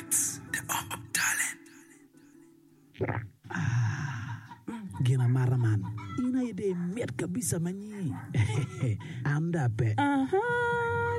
Arts, the home of talent. Ah, gin amata man, in aye dong imit kabisa ma nyi. An dong ape. Aha,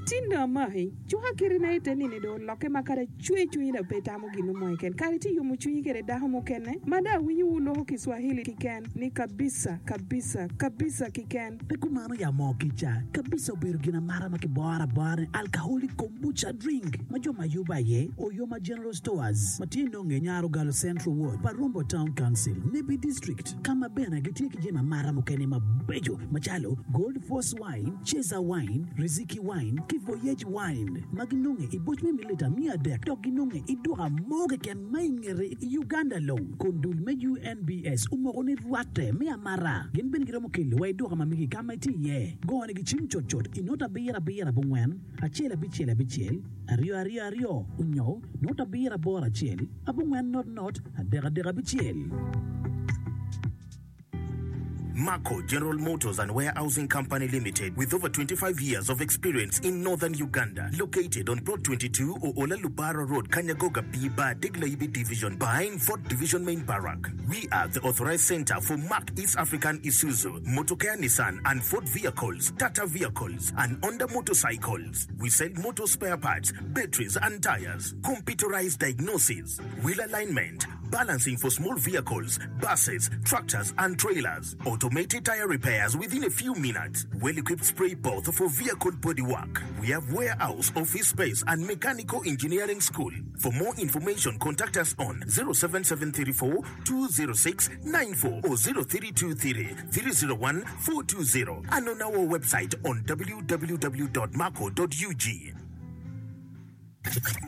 tin dong amaki. Cuka kiti na ite nini dong olokke ma kadi acwe cwinyi dong pe itamo gin mo keken. Kadi itye yomo cwinyi kede dako mukene ma dong awinyo wu loko Kiswahili kiken ni kabisa, kabisa, kabisa kiken. Pe kumano ya moo kica kabisa obedo gin amata ma kiboro abora ni alcoholic kombucha drink ma jo ma yubo aye Oyoma General Stores ma tye nonge i Nyarogalo Central Ward pa Rombo Town Council, Nebbi District ka ma bene gitye ki jami amata mukene mabeco macalo Gold Force Wine, Ceza Wine, Riziki Wine ki Voyage Wine ma ginonge i boc me mililita 300 dok ginonge i duka mo keken ma i ngete i Uganda long kun dul me UNBS omoko ni rwatte me amata gin bene giromo kelo wa i duka ma megi ka ma itye iye. Gone gi cim cutcut i not abiro abiro abongwen acel abicel abicel aryo aryo aryo onyo not abiro aboro acel abongwen not not adek adek abicel. Marco General Motors and Warehousing Company Limited with over 25 years of experience in Northern Uganda located on Plot 22 Oola Lubara Road Kanyagoga B Bar Deglayibi Division behind Fort Division Main Barrack. We are the authorized center for Mack East African Isuzu, Motokea Nissan and Ford vehicles, Tata vehicles and Honda motorcycles. We sell motor spare parts, batteries and tires, computerized diagnosis, wheel alignment, balancing for small vehicles, buses, tractors and trailers, automated tire repairs within a few minutes, well-equipped spray booth for vehicle body work. We have warehouse, office space and mechanical engineering school. For more information contact us on 07734 206 94 or 0323 301 420 and on our website on www.maco.ug.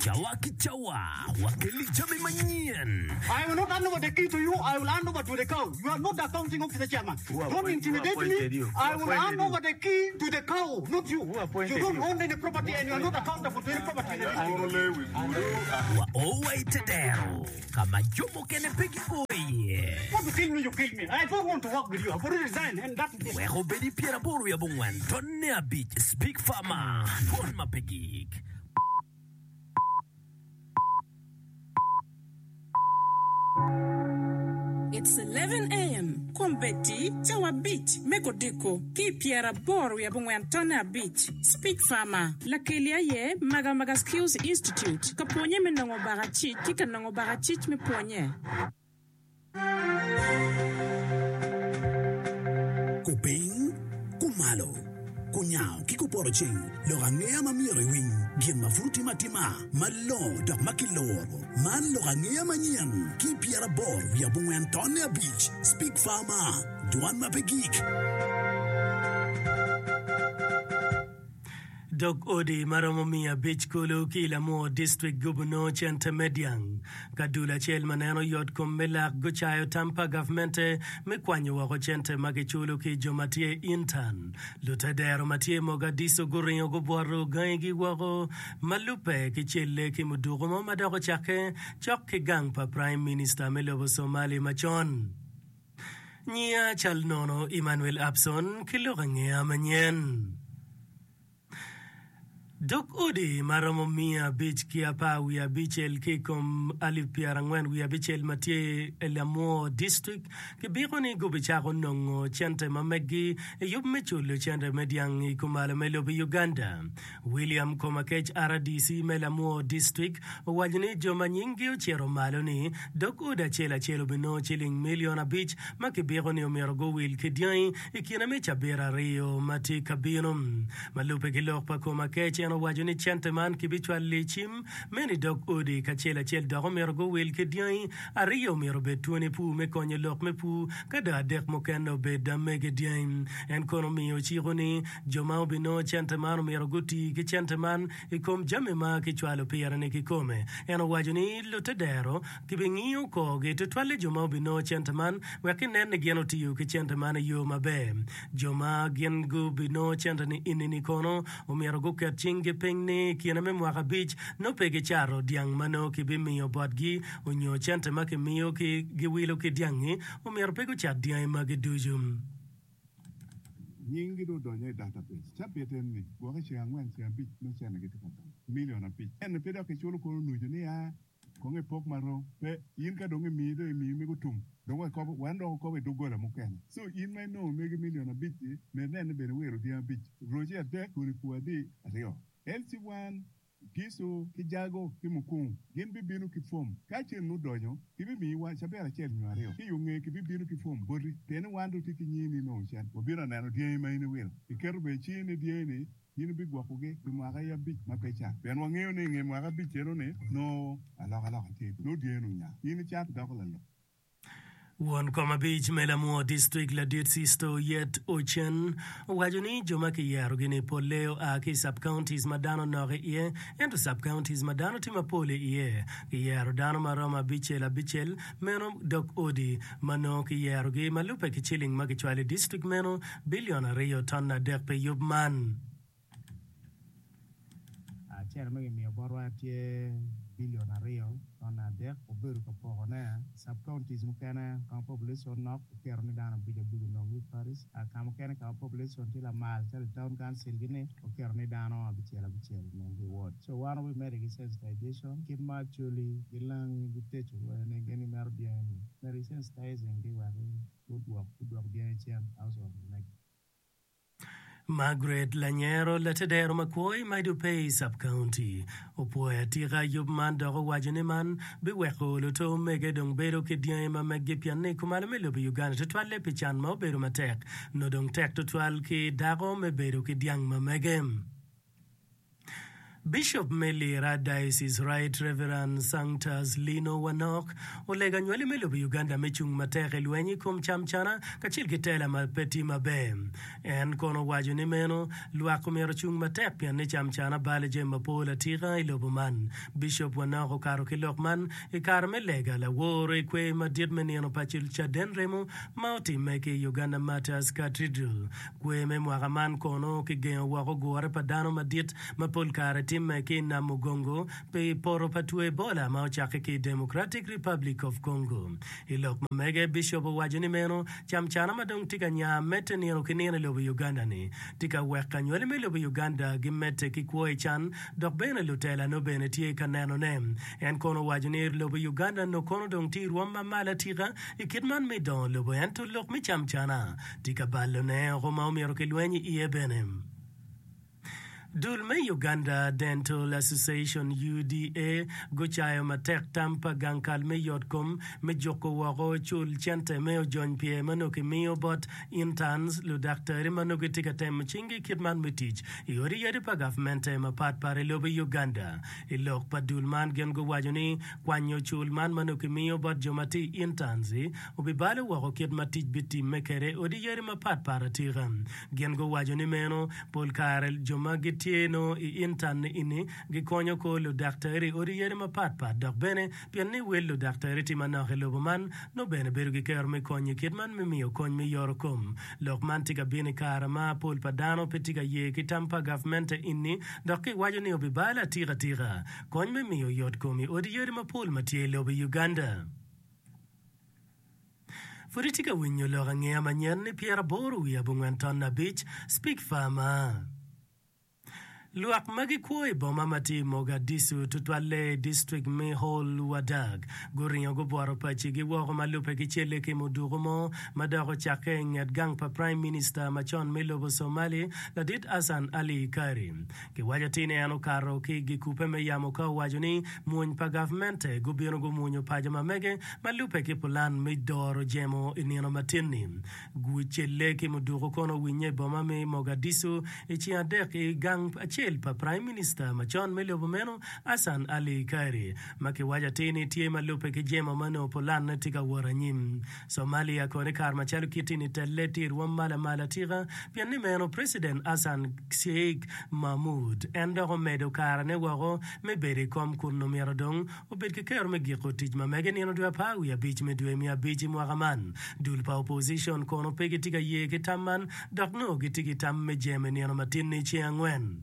Cawa ki cawa, wakeli jami manyen. I will not hand over the key to you, I will hand over to the cow. You are not the accounting officer chairman. Don't intimidate me. I will hand over the key to the cow, not you. You don't own any property and you are not accountable to any property in the district. Wa o wa i te dero ka ma jo mukene pe gio iye. Want to kill me, you kill me. I don't want to work with you. I've already resigned and that is it. Wek obed i pyeraboro wiye abongwen tonne abic Speak Farmer, Dwon ma pe gik. It's 11 AM, Kombeddi cawa abic me kodiko ki i pyeraboro wiye abongwen tonne abic. Speech Farmer, Lakeli aye Magamaga Skills Institute ka pwonye me nongo bakacic ki ka nongo bakacic me pwonye. Kupiny, kumalo, kunyango ki kupoto ceng, lok angeya ma myero iwiny, gin ma pud otime atima, malongo dok ma kiluro. Man lok angeya manyen ki pyeraboro wiye abongwen tonne abic, Speak Farmer, Dwan ma pe gik. Dog odi ma romo 500 kulu ki i Lamwor District gubunongo cente me dyang. Ka dul acel ma neno yot kom me lak gucayo tam pa gavmente me kwanyo woko cente ma kiculo ki jo ma tye intern. Lutedero ma tye Mogadishu guringo gubwoto gangigi woko ma lubbe ki celle ki muduku mo ma dok ocakke cok ki gang pa Prime Minister me lobo Somali macon. Nyiya cal nono Emmanuel Abson ki lok angeya manyen. Dog odi ma romo miya abic ki apar wiye abicel ki i kom alip pyerangwen wiye abicel ma tye i Lamwor District kibiko ni gubicako nongo cente ma meggi i yub me culo cente me dyang i kumalo me lobo Uganda. William Komakech rdc me Lamwor District owaco ni jo ma nyinggi ocito malo ni dog odi acel acel obinongo ciling milion abic ma kibiko ni omyero guwil ki dyangi i kine me cabit aryo ma tye ka bino. Ma lubbe ki lok pa Komakech, en owaco ni cente man kibicwalo i cim meno i dog odi kacel acel dok omyero guwil ki dyangi aryo myero obed twoni pur me konyo lok me pur ka dong adek mukene obed mege dyangi. En kono omiyo ociko ni Jo ma obinongo cente man omyero guti ki cente man i kom jami ma kicwalo pire-ni kikome. En owaco ni lutedero gibingiyo korgi, tutwalle jo ma obinongo cente man, wek ginen ni gin otiyo ki cente man i yo maber. Jo ma gin gubinongo cente-ni enini kono omyero guket cinggi piny ni i kine me mwaka abic nongo pe gicato dyang ma nongo kibimiyo botgi onyo cente ma kimiyo ki giwilo ki dyang-ngi, omyero pe gucat dyangi magi ducu. Nyinggi dong odonyo i database. Cabit eni, gwok i ceng angwen, ceng abic, nongo cente gitye ka donyo. Milion abic. Ento pe dok kiculo kono nucu ni a. Kong ipok marom. Pe, in ka dong imiyi dong imiyi mego tum. Dong wakobo, wan dok wakobo i doggola mukene. Co in ma inongo megi milion abic-ci, med nene bene iwiro dyangi abic, roci adek, kodi pur adi aryo. LC1, Gicu ki Jago ki Mukungu gin bibino ki fom. Ka cen odonyo, kibimiyi wa cabit acel nyo aryo. Ki i yo ngeye kibibino ki fom boti, pien ni wan dong tye ki nyingi ni inongo cen. Wabino aneno dyangi ma in iwilo. Iketo bene cingi ni dyangi-ni in ibigwokogi pi mwaka abic ma pe cat. Pien wangeyo ni i nge mwaka abic eno-ni nongo alokaloka tye, nongo dyangi-ni onya. In icat idoko lalok. Won kom abic me Lamwo District Ladit Sisto Yet Ochen owaco ni jo ma kiyerogi-ni polle oa ki i sub-counties ma dano nok iye ento sub-counties ma dano tye mapol iye kiyero dano ma romo abicel abicel meno dog odi ma nongo kiyerogi ma lubbe ki ciling ma kicwalo i district meno bilion 2.3 pi yub man. Cente ma kimiyo botwa tye bilion 2.3. Obedo ka pokone i sub-counties mukene ka ma population nok oketo ni dano abic abic onong ki i parish, ka mukene ka ma population tye lamal calo i town council gi ni oketo ni dano abicel abicel onong ki i ward. So wan wabimedde ki sensitization kit ma Acholi ki Langi giteco kwede ni gin gimito dyangi ni medo ki sensitizing gi wek gudwok dyangi cen household ma megi. Margaret Lanyero, latedero ma kwo i Maido Pei Sub-County, opwoyo atika yub man dok owaco ni man biweko luto mege dong bedo ki dyangi ma meggi pien ni kumalo me lobo Uganda tutwalle pi can ma obedo matek nongo dong tek tutwal ki dako me bedo ki dyang ma mege. Bishop me Lira Diocese Right Reverend Sanctus Lino Wanok olego anywali me lobo Uganda me cung matek i lweny i kom camcana kacel ki tela ma pe tye maber. En kono owaco ni meno lwak omyero ocung matek pien ni camcana balo jami mapol atika i lobo man. Bishop Wanok okato ki lok man i kare me lega lawor i kwer madit me nino pa Caden Remo ma otimme ki i Uganda Martyrs Cathedral. Kwer me mwaka man kono kigengo woko gure pa dano madit ma pol kare timme ki i Nam Mugongo pi poto pa two Ebola ma ocakke ki i Democratic Republic of Congo. I lok ma mege, Bishop owaco ni meno camcana ma dong tye ka nya medde nino ki nino i lobo Uganda-ni tye ka weko anywali me lobo Uganda gimedde ki kwo i can dok bene lutela nongo bene tye ka nenone. En kono owaco ni lobo Uganda nongo kono dong tye i rwom ma malo atika i kit man me dongo lobo ento lok me camcana Tye ka balone oko ma omyero kilweny iye bene. Dul me Uganda Dental Association, UDA, gucayo matek tam pa gang kal me yot kom me juko woko cul cente me ojony pyer ma nongo kimiyo bot interns, ludaktari ma nongo gitye ka temo cinggi kit man me tic i odi yadi pa gavmente mapat pat i lobo Uganda. I lok pa dul man gin guwaco ni kwanyo cul man ma nongo kimiyo bot jo ma tye i interns-i obibalo woko kit ma tic bitimme kwede i odi yadi mapatpat atika. Gin guwaco ni meno pol kare jo ma gitye nongo i intan ni gikonyo kor ludaktari i odi yadi mapatpat dok bene pien ni wel ludaktari tye manok i lobo man nongo bene bedo ki kero me konyo i kit man me miyo kony me yoro kom. Lok man tye ka bino i kare ma pol pa dano pe tye ka ye ki tam pa gavmente ini dok kiwaco ni obibalo atika tika kony me miyo yot kom i odi yadi mapol ma tye i lobo Uganda. Pud itye ka winyo lok angeya manyen ni 85 Speak Farmer. Lwak ma gikwo i boma ma tye i Mogadishu tutwalle i distrik me Hol Wadag guringo gubwoto pacigi woko ma lubbe ki celle ki muduku mo ma dok ocakke i nget gang pa Prime Minister macon me lobo Somali ladit Hassan Ali Kari. Kiwaco atir ni en okato ki i gikubbe me yamo ka owaco ni mwony pa gavmente gubino gumwonyo paco ma mege ma lubbe ki pulan me doro jemo i nino matin-ni. Gucelle ki muduku kono owinye i boma me Mogadishu i ceng adek i gang acel pa Prime Minister macon me lobo meno Hassan Ali Khairi ma kiwaco atir ni tye ma lubbe ki jemo ma nongo pulanne tye ka wot anyim. Somalia kono i kare macalo kiti-ni telle tye i rwom ma lamal atika pien ni meno President Hassan Sheikh Mahmoud en dok omedo karene woko me bedo i kom kun omyero dong obed ki kero me giko tic ma mege nino dwe apar wiye abic me dwe me abic i mwaka man. Dul pa opposition kono pe gitye ka ye ki tam man dok nongo gitye ki tam me jemo i nino matin-ni ceng angwen.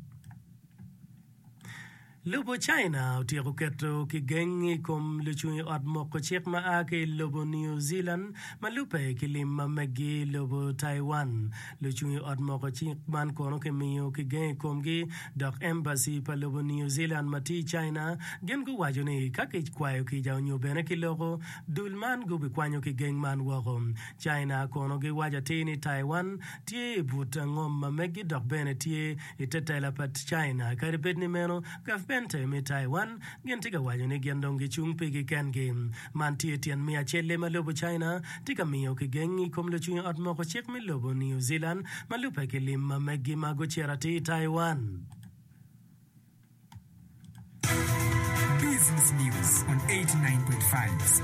Lobo China otyeko keto kigeng i kom lucung i ot moko cik ma a ki i lobo New Zealand ma lubbe ki lim ma meggi i lobo Taiwan. Lucung i ot moko cik man kono kimiyo kigeng i komgi dok embassy pa lobo New Zealand ma tye i China gin guwaco ni ka kikwayo kica onyo bene kiloko, dul man gubikwanyo kigeng man woko. China kono giwaco atir ni Taiwan tye i but ngom ma meggi dok bene tye I te tela pa China, kadi bed ni meno, gavmente me Taiwan gin tye ka waco ni gin dong gicung pigi kengi. Man tye tyen me acelle ma lobo China tye ka miyo kigeng i kom lucung i ot moko cik me lobo New Zealand ma lubbe ki lim ma meggi ma gucito atir i Taiwan. Business News on 89.5.